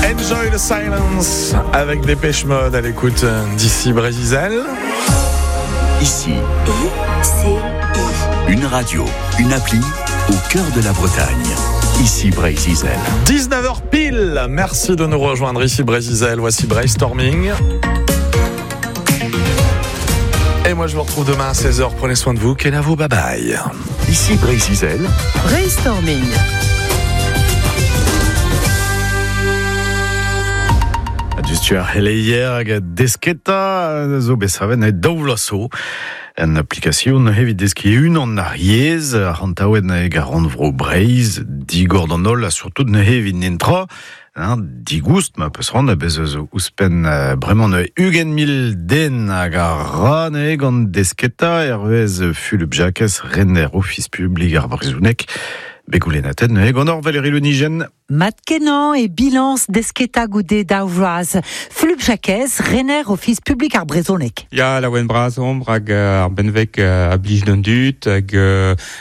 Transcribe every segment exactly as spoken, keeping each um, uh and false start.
Enjoy the silence avec Dépêche Mode à l'écoute d'ici Brésil. Ici. I C I. Une radio, une appli au cœur de la Bretagne. Ici Breizh-Izel. dix-neuf heures pile. Merci de nous rejoindre ici Breizh-Izel. Voici Brainstorming. Et moi je vous retrouve demain à seize heures. Prenez soin de vous. Kenavo, bye bye. Ici Breizh-Izel. Brainstorming. Tu ar heleier hag desketa zo besaven e daou vloaz En application evit deski unan ar yezh, ar hantaouen hag ar rannvro Breizh, digor d'an holl, ha surtout neuze evit nentra, hein, digoust ma peus ran, bez eus ouzhpenn bremañ neuze ugent mil den hag ar ra neuze gant desketa, hervez Fulup Jakez, rener Ofis publik ar brezhoneg. Begoulenaten neuze gant hor Valérie Le Nigen. Mat kenañ e bilañs desketa goude daou vloaz. Fulup Jakez, rener Ofis publik ar brezhoneg. Ya, laouen bras omp hag ar benveg a blij d'an dud hag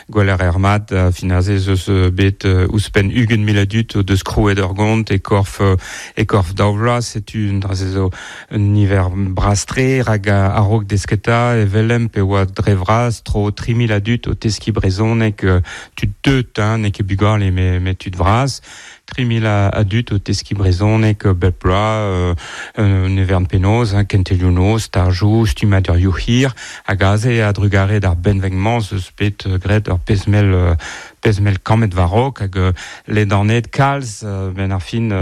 gweler er mat fin aze eus bet ouzhpenn ugent mil a dud o deus krouet ur gont e korf e korf daou vloaz. Setu un dra zo un niver bras-tre hag a-raok desketa evelem pe oa dre vras tro tri mil a dud o teski brezhoneg tud deut, hein, n'eo ket bugale me, me tud vras. tri mil a dud o teski brezhoneg bep bloaz, euh, nevern penaos, hein, kentelioù noz, stajoù, stummadurioù hir, hag aze a drugare d'ar benveg-mañ eus bet graet ur pezh-mell pezh-mell kammet war-raok hag ledanet kalz ben ar fin a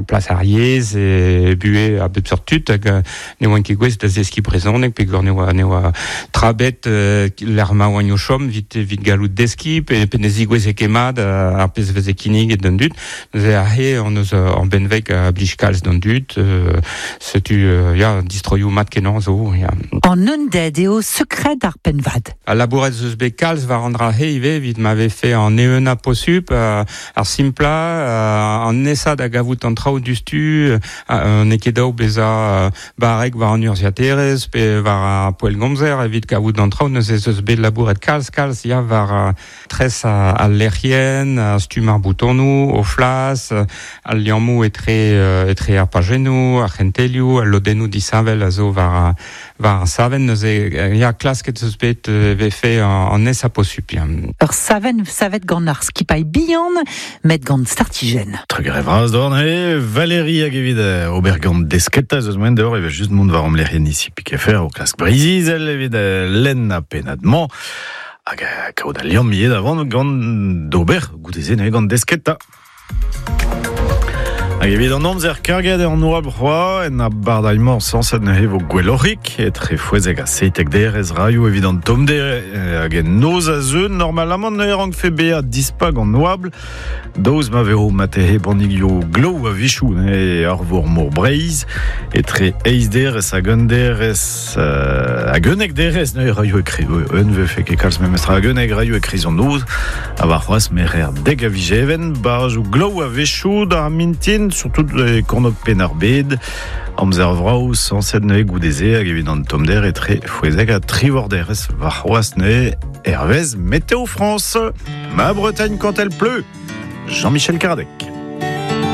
plas ar yezh e buhe a bep seurt tud hag ne oant ket gouest da zeskiñ brezhoneg peogwir ne oa ne oa trabet lec'h ma oant o chom evit evit gallout deskiñ pe pe ne zigoueze ket mat ar pezh veze kinniget d'an dud. Neuze aze hon eus ur benveg a blij kalz d'an dud, setu ya distroioù mat kenañ zo ya. An unded eo sekred ar pennvad. A labouret eus bet kalz war an dra he ivez evit ma vefe an eeunañ posupl, ar simplañ, an nesañ da gavout an traoù dustu, n'eo ket daou bezañ barrek war an urzhiaterezh pe war ar poellgomzer evit kavout an traoù. Neuze eus bet labouret kalz kalz ya war tres al lec'hienn, stumm ar boutonoù, o flas, al liammoù etre etre ar pajennoù, ar c'hentelioù, al lodennoù disheñvel a zo war war ar savenn. Neuze ya klasket eus bet vefe an nesañ posupl. Ur savenn savet gant ar skipailh bihan, met gant startijenn. Trugarez vras d'hor neuze, Valérie hag evit ober gant desketa eus moen d'hor, evel just mont war am lec'hienn ici Pikefer o klask Breizh-Izel evit lenn ha pennad-mañ. Hag kaout al liamm ivez davant gant d'ober goude-se neuze gant desketa. Hag evit an amzer karget an oabl c'hoazh, en abardailh-mañ sañset neuze vo gwelloc'hik, etre fouezek ha seitek derez raioù evit an tommder hag en noz a zeu, normalamant neuze rankfe bezañ dispak an oabl, daoust ma vezo matehe bannigioù glav a-wechoù neuze ar vor mor Breizh, etre eizh derez hag un derez hag unnek derez neuze raioù e kreiz, un vefe ket kalz memestra hag unnek raioù e kreiz an noz, ha warc'hoazh merer dek a vijeven, barrajoù glav a-wechoù d'ar mintin, surtout e kornôg Penn-ar-Bed, amzer vrav sañset neuze goude-se hag evit an tommder etre fouezek ha trivorderez warc'hoazh neuze hervez Météo France. Ma Bretagne quand elle pleut, Jean-Michel Caradec.